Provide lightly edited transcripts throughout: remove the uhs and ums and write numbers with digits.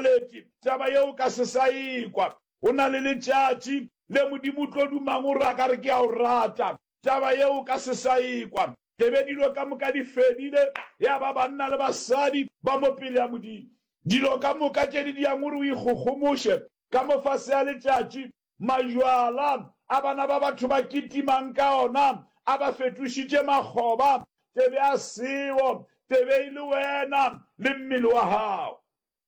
lebaletše, taba yeo o ka se sa e kwa. Go na le letšatši le Modimo o tlo dumang o re a ka re ke a o rata, taba yeo o ka se sa e kwa. Tebe dilo ka moka di fedile, ya ba banna le basadi ba mo pele ya Modimo. Dilo ka moka tše di diang gore o ikgogomoše ka mo fase ga letšatši, Majwala a bana ba batho ba kitimang ka ona a ba fetošitše makgoba, tebe a seo, tebe e le wena le mmele wa gago.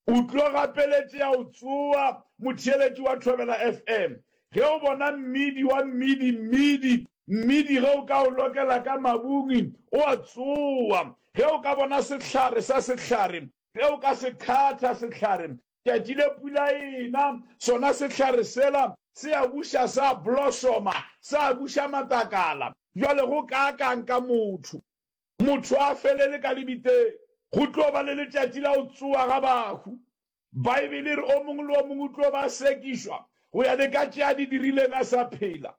O tlo gapeletšea o tsoa, motheeletši wa Thobela FM. Ge o bona mmidi wa mmidi, mmidi, mmidi ge o ka o lokela ka mabung, o a tsoa. Ge o ka bona sehlare sa sehlare, ge o ka se khatha sehlare, Tšatši le pula e ena, sona sehlare sela se a buša sa blosoma, sa buša matlakala. Bjale go kaakang ka motho? Motho a felele ka lebitleng. Go tlo ba le letšatši la go tsoga ga bahu. Baebele e re o mongwe le o mongwe o tlo ba a sekišwa go ya le ka tše a di dirileng a sa phela.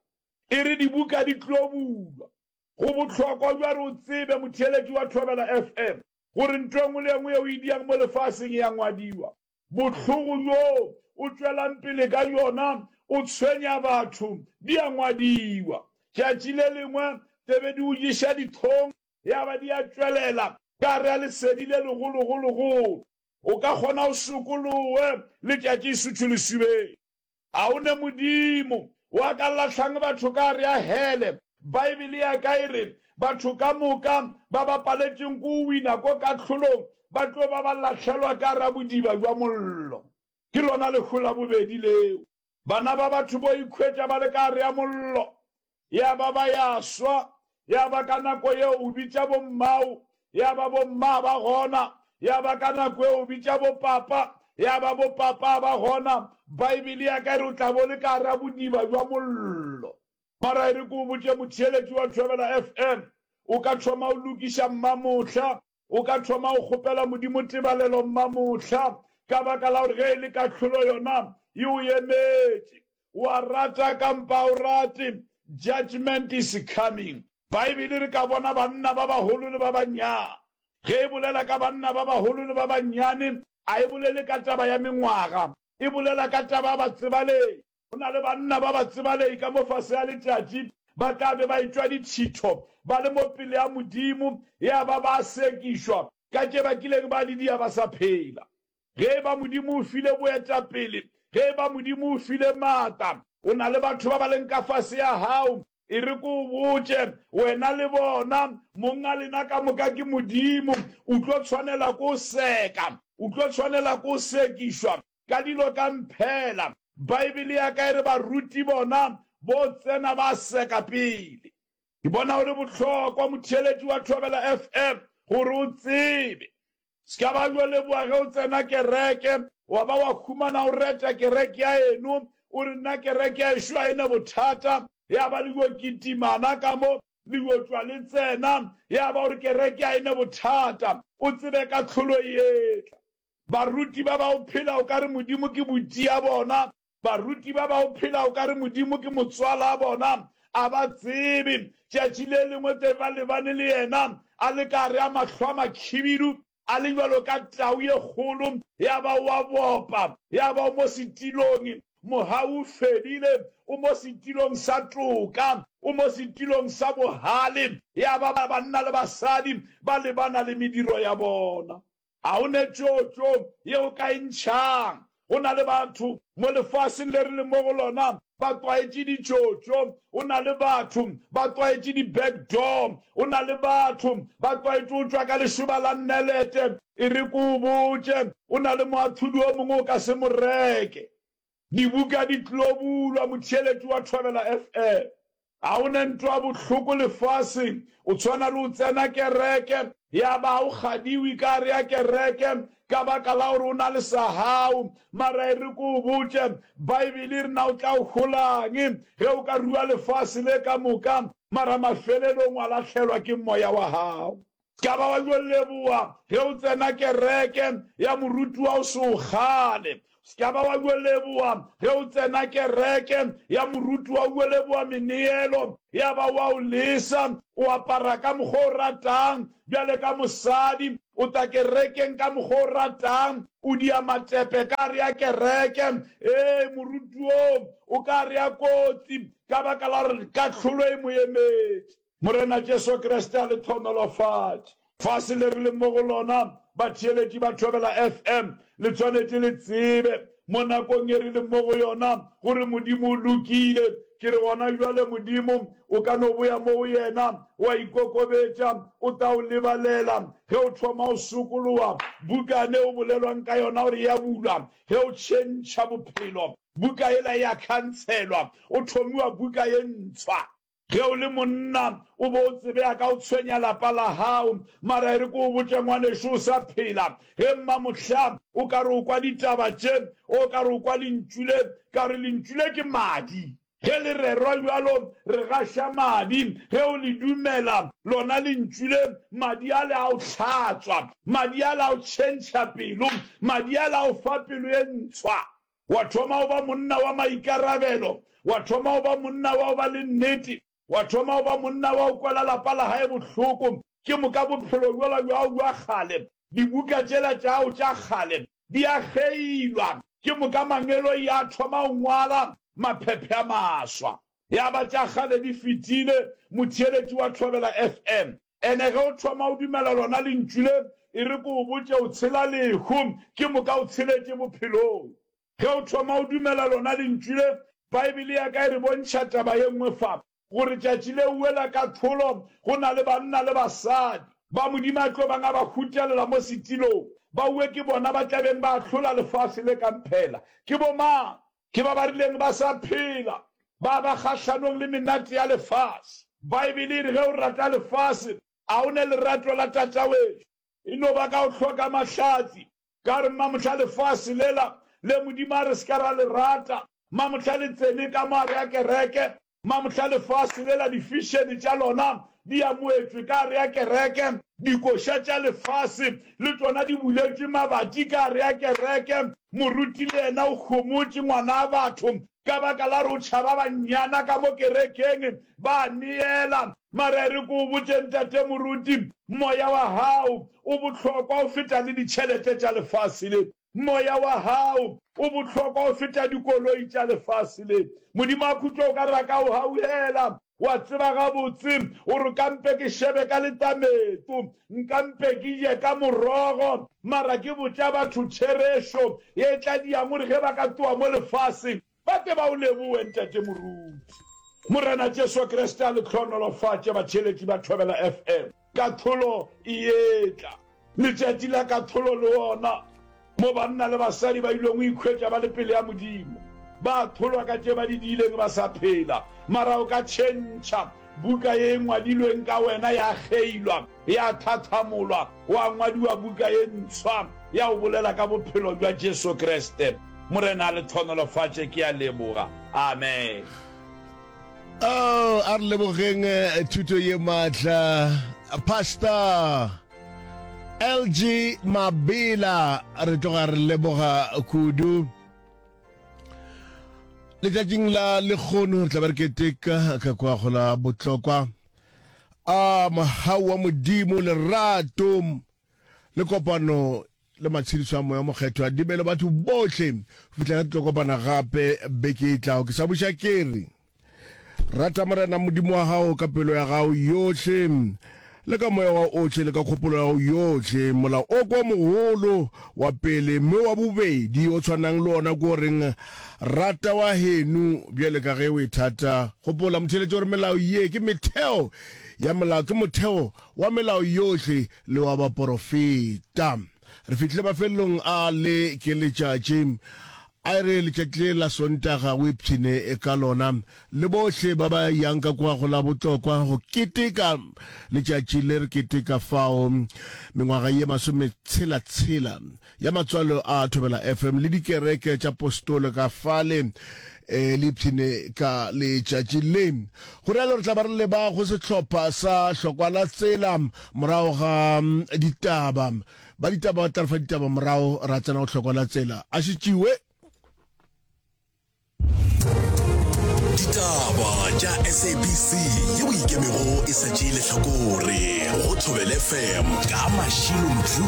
E re dibuka di tlo bulwa. Go bohlokwa bja re o tsebe, motheeletši wa Thobela FM, gore ntho e nngwe le e nngwe yeo e diang mo lefaseng e a ngwadiwa. Bohlogo bjo o tšwelang pele ka bjona o tshwenya batho di a ngwadiwa. Tšatši le lengwe tebe di o ješa dihlong ya ba di a tšwelela ka gare ga lesedi le legologologolo. O ka kgona o sokolowe letšatši suthu lesubeng. A o ne Modimo wa ka lahlang batho ka gare ya hele? Baebele ya ka e re, Batho ka moka ba ba paletšeng ko wina ko kahlolong ba tlo ba ba lahlelwa ka gare ya bodiba bja mollo. Ke lona lehu la bobedi leo. Bana ba batho bo ikhwetša ba le ka gare ya mollo. Ya ba ba ya swa, ya ba ka nako yeo o bitša bommao, ya ba bomma ba gona, ya ba ka nako yeo o bitša bopapa, ya ba bopapa ba gona. Baebele ya ka e re o tla bo le ka gara bodiba bja mollo. Mara e re ke o botše motheeletši wa Thobela FM, o ka thoma o lokiša mmamohla, o ka thoma o kgopela Modimo tebalelo mmamohla, ka baka la gore ge e le kahlolo yona e o emetše. O a rata kampa a o rate, judgment is coming. Baebele re ka bona banna ba bagolo le ba bannyane. Ge e bolela ka banna ba bagolo le ba bannyane, a e bolele ka taba ya mengwaga, e bolela ka taba ya batsebalegi. Go na le banna ba batsebalegi ka mo fase ga letšatši, ba tla be ba etšwa ditšhitho ba le mo pele ga Modimo, ya ba ba sekišwa ka tše ba kileng ba di dia ba sa phela. Ge e ba Modimo o file boetapele, ge e ba Modimo o file maatla, o na le batho ba ba leng ka fase ya gago, e re ke o botše, wena le bona, mong a lena ka moka ke Modimo, o tlo tshwanela ke o seka, o tlo tshwanela ke o sekišwa ka dilo ka mphela. Baebele ya ka e re baruti bona bo tsena ba seka pele. Ke bona go le bohlokwa, motheeletši wa Thobela FM, gore o tsebe Se ka ba yo leboga ge o tsena kereke, wa ba wa humana o reta kereke ya eno, o re nna kereke ya ešo ga e ne bothata, ya ba le yo kitimana ka mo, le yo tšwa le tsena, ya ba o re kereke ga e ne bothata, o tsebe kahlolo e etla. Baruti ba ba o phela o ka re Modimo ke buti ya bona, Baruti ba ba o phela o ka re Modimo ke motswala bona, a ba tsebe. Tšatši le lengwe tse ba lebane le yena a le ka gare a mahlo a makhibidu, a le bjalo ka tau ye kgolo, ya ba o a bopa, ya ba o mo setilong, mogau o fedile, o mo setilong sa toka, o mo setilong sa bogale, ya ba banna le basadi ba lebana le mediro ya bona. Ga o ne tšotšo ye o ka e ntšhang. Go na le batho mo lefaseng le re leng mo go lona ba tlwaetše ditšotšo. O na le batho ba tlwaetše di-back door. O na le batho ba tlwaetše go tšwa ka lešoba la nnelete. E re ke o botše, o na le moahlodi o mongwe o ka se mo reke. Dibuka di tlo bulwa, motheeletši wa Thobela FM. Ga o ne ntwa bohloko lefaseng, o tshwana le o tsena kereke, ya ba o kgadiwe ka gare ya kereke ka baka la gore o na le sa gago. Mara e re ke o botše, Baebele e re na o tla o holang ge o ka rua lefase le ka moka, mara mafelelong wa lahlelwa ke moya wa gago. Ka ba wa yo leboga ge o tsena kereke ya moruti wa o se o kgale. Se ka ba wa yo leboa ge o tsena kereke ya moruti wa yo leboa meneelo ya ba wa o lesa o apara ka mokgwa o ratang bjale ka mosadi o tla kerekeng ka mokgwa o ratang o dia matepe ka gare ya kereke ee moruti oo o ka gare ya kotsi ka baka la gore kahlolo e mo emetše. Morena Jesu Kriste a le hlohonolofatše. Fase le re leng mo go lona, batheeletši ba Thobela FM, le tshwanetše le tsebe, mo nakong ye re leng mo go yona, gore Modimo o lokile. Ke re gona bjale, Modimo, o ka no boya mo go Yena, wa ikokobetša, O tla o lebalela. Ge o thoma o sokologa, bukane o bolelwang ka yona gore e a bulwa, ge o tšhentšha bophelo, buka yela e a khantshelwa, o thomiwa buka ye ntshwa. Ge o le monna, o be o tsebea ka go tshwenya lapa la gago. Mara e re ke o botše ngwanešo o sa phela, ge mmamohla o ka re o kwa ditaba tše, o ka re o kwa lentšu le, ka re lentšu le ke madi. Ge le rerwa bjalo, re gaša madi. Ge o le dumela, lona lentšu le, madi ale a o hlatswa, madi ale a o tšhentšha pelo, madi ale a o fa pelo ye ntshwa. Wa thoma go ba monna wa maikarabelo. Wa thoma go ba monna wa go ba le nnete. Wa thoma go ba monna wa go kwela lapa la gae bohloko. Ke moka bophelo bjola bja gago bja kgale, dibuka tšela tša gago tša kgale di a kgeilwa. Ke moka mangeloi a thoma go ngwala maphephe a maswa. Ya ba tša kgale di fetile, motheeletši wa Thobela FM. Ene ge o thoma o dumela lona lentšu le, e re ke o botše, o tshela lehu, ke moka o tsheletše bophelong. Ge o thoma o dumela lona lentšu le, Bible ya ka e re bontšha taba ye nngwe fa, gore tšatši le uwe la kahlolo, go na le banna le basadi, ba Modimo a tlo bang a ba hutelela mo setilong, ba uwe ke bona ba tla beng ba ahlola lefase le ka mphela. Ke bomang? Ke ba ba rileng ba sa phela, ba ba kgahlanong le menate ya lefase. Baebele e re ge o rata lefase, a o ne lerato la Tatawešo. E no ba ka go hloka mahlatse. Ka gore mamohla lefase lela le Modimo a re se ka ra le rata, mamohla le tsene ka mo gare ga kereke, Mamohla lefase le la difišene tša lona di amoetšwe ka gare ya kereke, dikoša tša lefase le tšona di buletšwe mabati ka gare ya kereke. Moruti le yena o homotše ngwana batho ka baka la gore o tšhaba bannyana ka mo kerekeng ba neela. Mara e re ke o botše ntate moruti, moya wa gago o bohlokwa go feta le ditšhelete tša lefase le. Moya wa gago o bohlokwa go feta dikoloi tša lefase le. Modimo a khutšo o ka re a ka o gaugela. Wa tseba gabotse gore ka mpe ke šebe ka letameto, nka mpe ke je ka morogo, mara ke botša batho therešo ye tla diang gore ge ba ka tloga mo lefaseng ba tle ba o lebohe, Ntate Moruti. Morena Jesu Kriste a le hlohonolofatše batheeletši ba Thobela FM. Kahlolo e etla. Letšatši la kahlolo le ona, mo banna le basadi ba ilong go ikhwetša ba le pele ya Modimo, ba ahlolwa ka tše ba di diileng ba sa phela. Mara o ka tšhentšha buka ye e ngwadilweng ka wena ya kgeilwa, ya tlhatlhamolwa, gwa ngwadiwa buka ye ntshwa ya go bolela ka bophelo bja Jesu Kriste. Morena a le hlohonolofatše. Ke a leboga. Amen. Oh, a re lebogeng eh, thuto ye maatla Pastor LG Mabela re tloga re leboga kudu letšatšing la lekgono re tla be re keteka ka kwa go la botlokwa a mogau wa modimo lerato le kopano le matshediso a moya mokgethwa di be le batho bohle go fihla ge tlo kopana gape beke e tlago. Ke sa buša ke re, rata Morena Modimo wa gago ka pelo ya gago yohle le ka moya wa ohle le ka kgopolo ya gago yohle. Molao o ke wa mogolo wa pele, mme wa bobedi o tshwanang le ona ke o reng, Rata wa heno bjale ka ge o ithata. Gopola, motheeletši, gore melao ye ke metheo ya molao, ke motheo wa melao yohle le wa baporofeta. Re fihlile mafelelong a le ke letšatši. A e re letšatši le la Sontaga o ipshine ka lona le bohle ba ba yang ka kwa go la botlokwa go keteka letšatši le re keteka fao mengwaga ye masometshela-tshela ya matswalo a Thobela FM le dikereke tša postolo ka fale e le ipshine ka letšatši le. Go rialo re tla ba re leba go sehlopha sa Hlokwa la Tsela morago ga ditaba. Ba ditaba ba tla re fa ditaba morago ra tsena go Hlokwa la Tsela. A šetšiwe. Ditaba tša SABC yeo e ikemego e sa tšee lehlakore go Thobela FM ka Mashilo Mdluli.